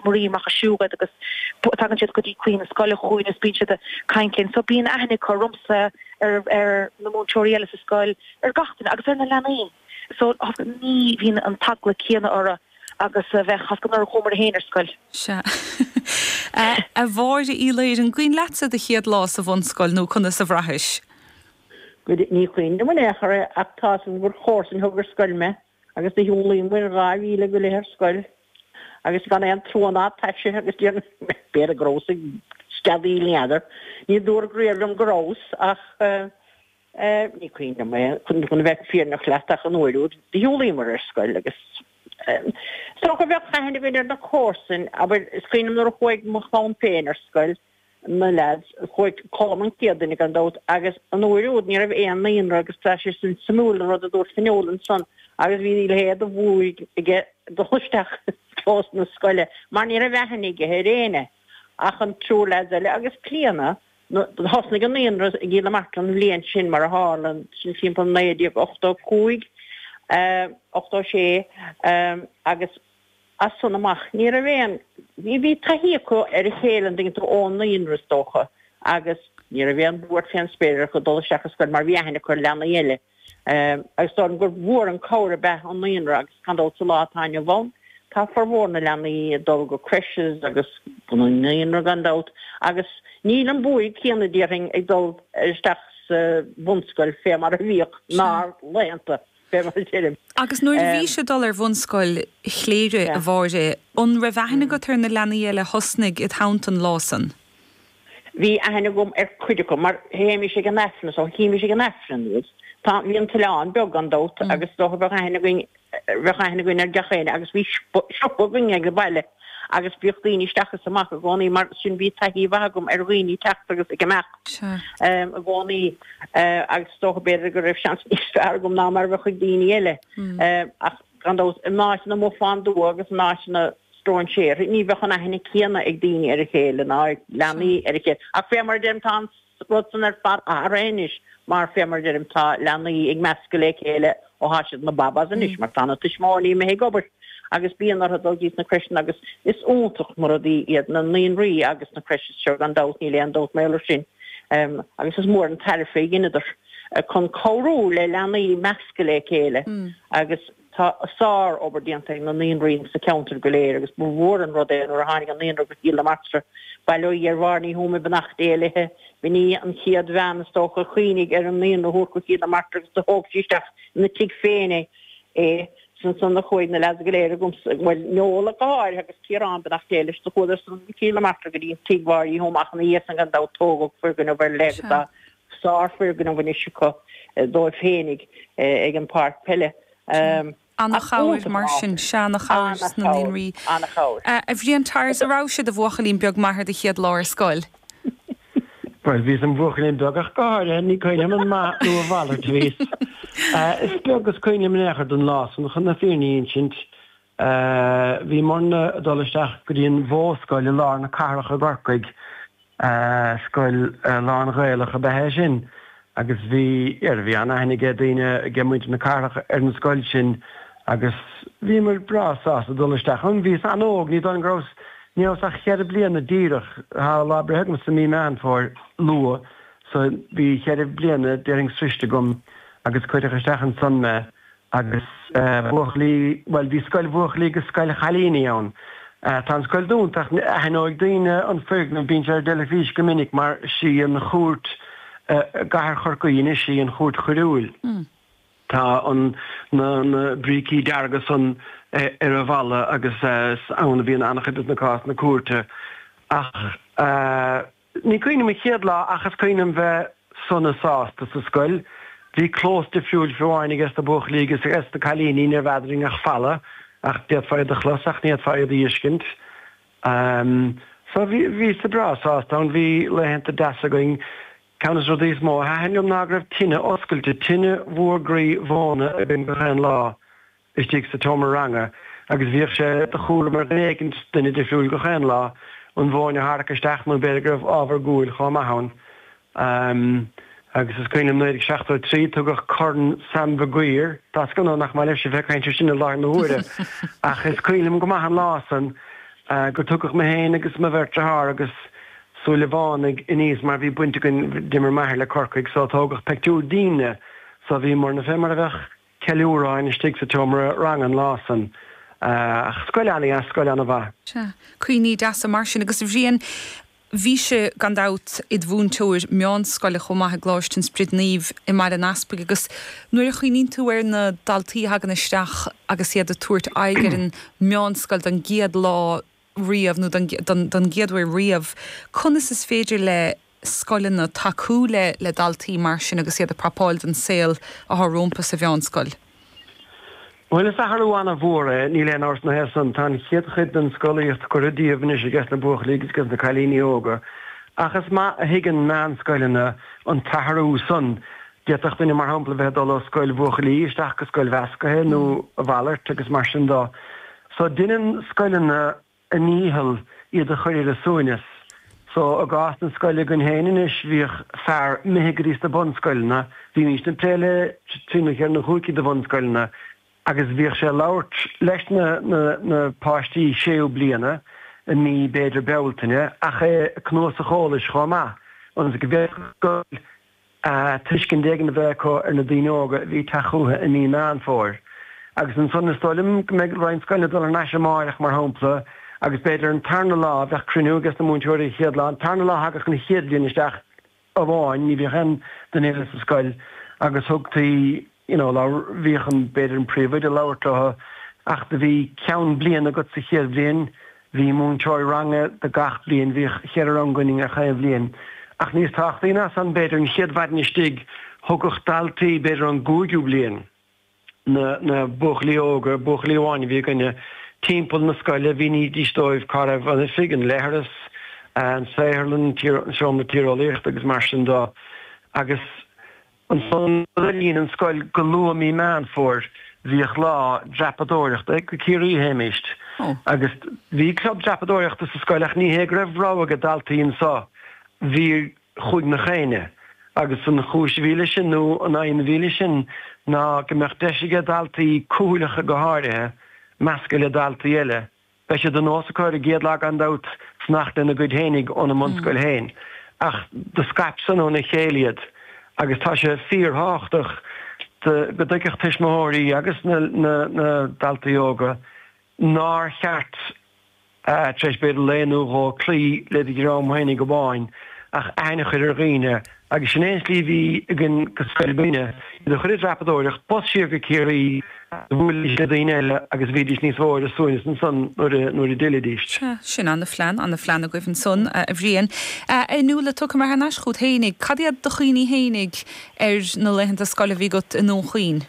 Marie amach ag siúl agus tagann siad go dtí claí na scoile chugainn agus bíonn siad ag caint linn. So bíonn aithne acu ormsa, ar ar na múinteoirí eile sa scoil, ar gach duine agus ar na leanaí. So ní bhíonn an t-eagla céanna orthu agus a bheadh as nuair a chuamar féin ar scoil. Sea. A Mháire Uí Laoire, an cuimhin leatsa do chéad lá sa bhunscoil nó conas a bhraithis? Goidé, ní cuimhin liom in aon chor é ach tá's agam gur chomharsain a thug ar scoil mé agus do shiúlaíomair 2 mhíle go leith ar scoil agus gan aon trua ná taise agus déarfainn b'fhéidir go rabhas ag steadaíl n'fheadar. Ní dúradh riamh liom go rabhas ach ní cuimhin liom é chun a bheith fírinneach leat ach an uair úd do shiúlaíomair ar scoil agus is dócha bheadh aithne againn ar na comharsain, abair, is cuimhin liom nuair a chuaigh mo chlann féin ar scoil, na leaids, chuaigh Colm an chéad duine gan dabht agus an uair úd ní raibh aon naíonra agus tá sé sin suimiúil an rud a dúirt Fionnuala ansan agus bhí a leithéid de bhuaidh aige dul isteach i gclós na scoile mar ní raibh aithne aige ar éinne ach an triúr leaids eile agus Clíona Thosnaigh an naíonra i gCill na Martra an bhliain sin mar a tharla, sin timpeall 1985, 86 agus as san amach ní raibh aon, bhí, bhí taithí acu ar a chéile an dtuigeann tú ón naíonra is dócha agus ní raibh aon bhuairt fén spéir orthu dul isteach ar scoil mar bhí aithne acu ar leanaí eile. Agus is dóigh liom gur mhór an cabhair ab ea an naíonra agus gan dabht sa lá atá inniu ann tá formhór na leanaí ag dul go creches agus go naíonra gan dabht agus níl an buaidh céanna déarfainn ag dul isteach sa bhunscoil fé mar a bhíodh 'nár laethanta fé mar a deirim. Agus nuair a bhís ag dul ar bhunscoil Chléire, a Mháire, an raibh aithne agat ar na leanaí eile a thosnaigh id theannta an lá san? Bhí aithne agam ar cuid acu mar théimis ag an Aifreann so chímis ag an Aifreann iad. Tá, bhí an t-oileán beag gan dabht agus is dócha bheadh aithne againn, bheadh aithne againn ar gach éinne agus bhí siopa againn ag an baile agus bhíodh daoine isteach is amach i gcónaí mar sin bhí taithí mhaith agam ar dhaoine ag teacht agus ag imeacht i gcónaí agus is dócha b'fhéidir go raibh seans níos fearr agam ná mar a bheadh ag daoine eile ach gan dabht in áiteanna amuigh fán dtuath agus in áiteanna stróinséartha, ní bheadh an aithne céanna ag daoine ar a chéile ná ag leanaí ar a chéile. Ach fé mar a deirim, tá an rud san ar fad athraithe anois mar fé mar a deirim, tá leanaí ag meascadh le chéile ó thá siad ina babas anois mar tá na tuismitheoirí imithe ag obair agus bíonn orthu dul dtí na crècheanna agus is iontach na rudaí iad na naíonraí agus na creches seo gan dabht, níl aon dabht mar gheall air sin agus is mór an tairbhe a dheineadar chun cabhrú le leanaí meascadh le chéile agus Tá sár-obair déanta ag na naíonraí sa cheantar go léir agus ba mhór an rud é nuair a tháinig an naíonra go Cill na Martra. Bail ó Dhia ar Mháire Ní Thuama beannacht Dé léithe. B'in í an chéad bhean is dócha a chuimhnigh ar an naíonra a thabhairt go Cill na Martra agus do thóg sí isteach ina tigh féin é. Is ansan a chuaigh na leaids go léir agamsa, bhuel Noel ach go háirithe agus Ciarán beannacht Dé leis, do chuadar san go Cill na Martra go dtí an tigh Mháire Uí Thuama ach ina dhiaidh san gan dabht tógadh foirgneamh ar leith agus tá sár-fhoirgneamh anois acu dóibh féinig ag an bpáirc peile. Ana-chabhair mar sin, sea, ana-chabhair sna naíonraí. Ana-chabhair. A Bhriain Tyers, an raibh sé i do bhuachaillín beag maith ar do chéad lá ar scoil? Bhuel, bhíos im bhuachaillín beag ach go háirithe, ní cuimhin liom an maith nó a mhalairt a bhíos. Is beag is cuimhin liom in aon chor den lá san, chun na fírinne a insint. Bhíomarna ag dul isteach go dtí an Mhodhscoil i lár na cathrach i gCorcaigh. Scoil lán-Ghaelach ab ea é sin agus bhí, bhí an-aithne ag daoine, ag muintir na cathrach ar an scoil sin agus bhíomar breá sásta dul isteach ann. Bhíos an-óg, ní dóigh liom go rabhas, ní rabhas ach cheithre bliana díreach, tá lá breithe agamsa i mí Meán Fómhair luath so bhí cheithre bliana déarfainn sroiste agam agus cuireadh isteach ansan mé. Agus buachaillí, bhuel, bhí scoil bhuachaillí agus scoil chailíní ann. Tá an scoil dúnta ach aithneoidh daoine an foirgneamh, bíonn sé ar an dteilifís go minic mar sí an chúirt i gcathair Chorcaí anois í an chúirt choiriúil. Tá an, na, na brící dearga san ar an bhalla agus is ann a bhíonn an-chuid de na cásanna cúirte. Ach. Ní cuimhin liom an chéad lá ach is cuimhin liom bheith sona sásta sa scoil. Bhí clós difriúil fiú amháin ages na buachaillí agus ages na cailíní, ní raibh eadrainn ach falla ach d'fhéadfá iad a chlos ach ní fhéadfá iad a fheiscint. So bhí, bhíos breá sásta ann, bhí laethanta deasa againn. Ceann des na rudaí is mó a thaitin liom ná go raibh tine oscailte, tine mhór groí mhóna againn gach aon lá. istigh sa tseomra ranga agus bhíodh sé de chúram ar dhuine éicint, duine difriúil gach aon lá, an mhóin a tharrac isteach nó b'fhéidir go raibh ábhar guail chomh maith ann. Agus is cuimhin liom 1973 tugadh Corn Sam Mhaguire, tá a fhios agam nach maith libhse bheith ag caint air sin i láthair na huaire ach is cuimhin liom go maith an lá san. Gur tugadh mé féin agus mo bheirt dearthár agus Súilleabhánaigh aníos mar bhí baint againn, d'imir m'athair le Corcaigh so tógadh peictiúr dínne so bhíomarna fé mar a bheadh ceiliúradh againn istigh sa tseomra ranga an lá san. Ach scoil an-dheas, scoil an-mhaith. Sea. Cuimhní deasa mar sin. Agus a Bhriain, bhís-se, gan dabht, id mhúinteoir meánscoile chomh maith i gColáiste an Sprid Naoimh i mBaile an Easpaig agus nuair a chuimhníonn tú ar na daltaí a thagann isteach agus iad ag tabhairt aghaidh ar an meánscoil don gcéad lá riamh nó don don gcéad uair riamh, conas is féidir le scoileanna tacú le le daltaí mar sin agus iad ag prapáil don saol atá rompu sa mheánscoil? Bhuel, is athrú an-mhór é, níl aon amhras ina thaobh san. Tá an chéad chuid den scolaíocht curtha díobh anois ages na buachaillí agus ages na cailíní óga, ach is maith a thuigeann meánscoileanna an t-athrú san. D'fhéadfadh duine, mar shampla, bheith ag dul ó scoil bhuachaillí isteach go scoil mheascaithe nó a mhalairt agus mar sin de. So, deineann scoileanna a ndícheall iad a chur ar a suaimhneas. So, i gcás na scoile againn féin anois, bhíodh fear imithe go dtí sna bunscoileanna, bhímís ag plé le trí nó cheithre nó chúig cinn de bhunscoileanna, agus bhíodh sé ag labhairt leis na na páistí séú bliana i mí, b'fhéidir, Bealtaine, ach é ag cnuasach eolais chomh maith, ionas go bhféadfadh an scoil tuiscint éigin a bheith acu ar na daoine óga a bhí ag teacht chucu i mí Meán Fómhair. Agus ansan is dóigh liom go mbeidh roinnt scoileanna ag dul thar n-ais amáireach, mar shampla, agus b'fhéidir an tarna lá, bheadh cruinniú ages na múinteoirí an chéad lá, an tarna lá thagadh an chéad bhliain isteach amháin, ní bhíodh aon duine eile sa scoil agus thugtaí, you know, labhair, bhíodh an, b'fhéidir an príomhoide ag labhairt leo ach do bhí ceann bliana agat sa chéad bhliain, bhí múinteoir ranga do gach bliain, bhíodh cheithre rang againn ar chaon bhliain. Ach níos tábhachtaí ná san, b'fhéidir, an chéad mhaidin istigh, thugadh daltaí, b'fhéidir ón gcúigiú bliain, na, na buachaillí óga, buachaillí amháin a bhí againne, timpeall na scoile, mhínídís dóibh cá raibh an oifig, an leithreas, an saotharlann, an seomra tíreolaíochta agus mar sin de. Agus. Ansan le linn an scoil go luath mí Meán Fómhair bhíodh lá dreapadóireachta go Ciarraí a théimíst agus bhí club dreapadóireachta sa scoil ach ní hé go raibh rogha ag daltaí anso bhí chuaigh nach éinne agus an chúis a bhí leis sin nó an aidhm a bhí leis sin ná go mbeadh deis aige daltaí cúthaileacha go háirithe meascadh le daltaí eile Beidh sé de nós acu ar an gcéad lá gan dabht fanacht lena gcuid fhéinig óna mbunscoil féin, ach do scaip san óna chéile iad agus tá sé fíorthábhachtach go dtuigfeadh tuismitheoirí agus na daltaí óga nár cheart tar éis b'fhéidir lae nó dhó cloí le do dhream fhéinig amháin ach aithne a chur ar dhaoine agus sin é an tslí a bhí againn go scoil againne, iad a chur ag dreapadóireacht, bus siar go Ciarraí, bhuailidís le daoine eile agus bhídís níos mó ar a suaimhneas ansan nuair a d'fhillidís. Sea, sin ana-phlean, ana-phlean agaibh ansan, a Bhriain. A Fhionnuala, tiocfaidh mé thar n-ais chugat fhéinig. Cad iad do chuimhní fhéinig ar na laethanta scoile a bhí agat i nDún Chaoin?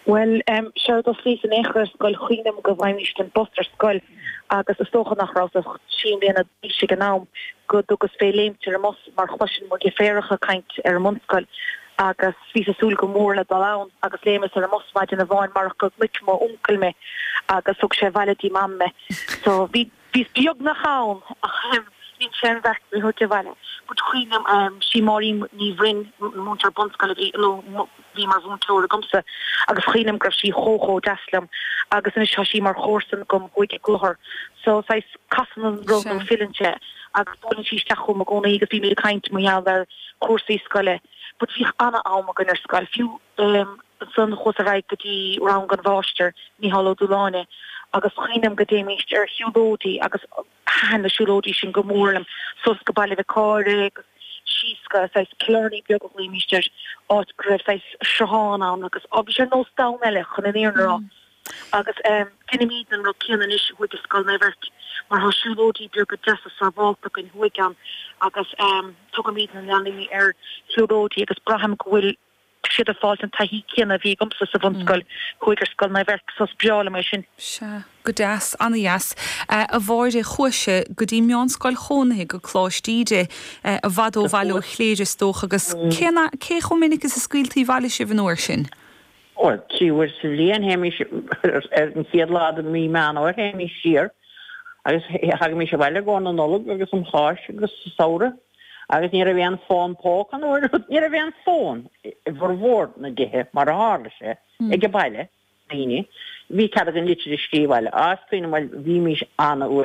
Bhuel, séard thosnaíos in aon chor ar scoil, cuimhním go bhfaighimíst an bus ar scoil agus is dócha nach rabhas ach trí mbliana d'aois ag an am, go dtugas fé léimt ar an mbus mar chloisinn mo dheirféaracha ag caint ar an mbunscoil agus bhíos ag súil go mór le dul ann agus léimeas ar an mbus maidin amháin marach go gcnoic m'uncail mé agus thug sé abhaile dtí Mam mé. So bhí. Bhíos beagnach ann ach dhein sé an bheart mé thabhairt abhaile. But cuimhním, sí Máirín Ní Bhroin, múinteoir bunscoile a bhí, nó bhí mar mhúinteoir agamsa agus cuimhním go raibh sí chomh chomh deas liom agus anois tá sí mar chomharsan agam thuaidh i gClochar. So saghas casann an roth nó filleann sé agus buaileann sí isteach chugam i gcónaí agus bímid ag caint mar gheall ar chúrsaí scoile. But bhíodh ana-am againn ar scoil, fiú ansan chuas ar aghaidh go dtí rang an mháistir, Mícheál Ó Dúláine, agus cuimhním go dtéimíst ar shiúlóidí agus thaitin na siúlóidí sin go mór liom, suas go Baile Mhic Cáire agus síos go saghas Killarney beag a ghlaoimíst air, áit go raibh saghas sruthán ann agus á bhí sé ar nós domhan eile chun an fhírinne a rá. Agus deinimíd an rud céanna anois thuaidh i Scoil Naomh Eirc mar tá siúlóidí beaga deasa sábhálta againn thuaidh ann agus tugaimíd na leanaí ar shiúlóidí agus braithim go bhfuil siad ag fáilt an taithí céanna a bhí agamsa sa bhunscoil thuaidh ar Scoil Naomh Eirc so is breá liom é sin. Sea, go deas, ana-dheas. A Mháire, chuais-se go dtí meánscoil chónaithe go Coláiste Íde, i bhfad ó bhaile ó Chléire is dócha, agus cé cé chomh minic is a scaoiltí abhaile sibh an uair sin? Bhuel, 3 uair sa bhliain théimís, ar an chéad lá de mhí Meán Fhómhair théimís siar agus thagaimís abhaile i gcomhair na Nollag agus an Cháisc agus sa samhradh. Agus ní raibh aon fón póca an uair, ní raibh aon fón i bhformhór na dtithe mar a tharla sé ag an baile. daoine. Bhí cead againn litir a scríobh abhaile. Á, is cuimhin liom, bhuel, bhímís an-uaigneach.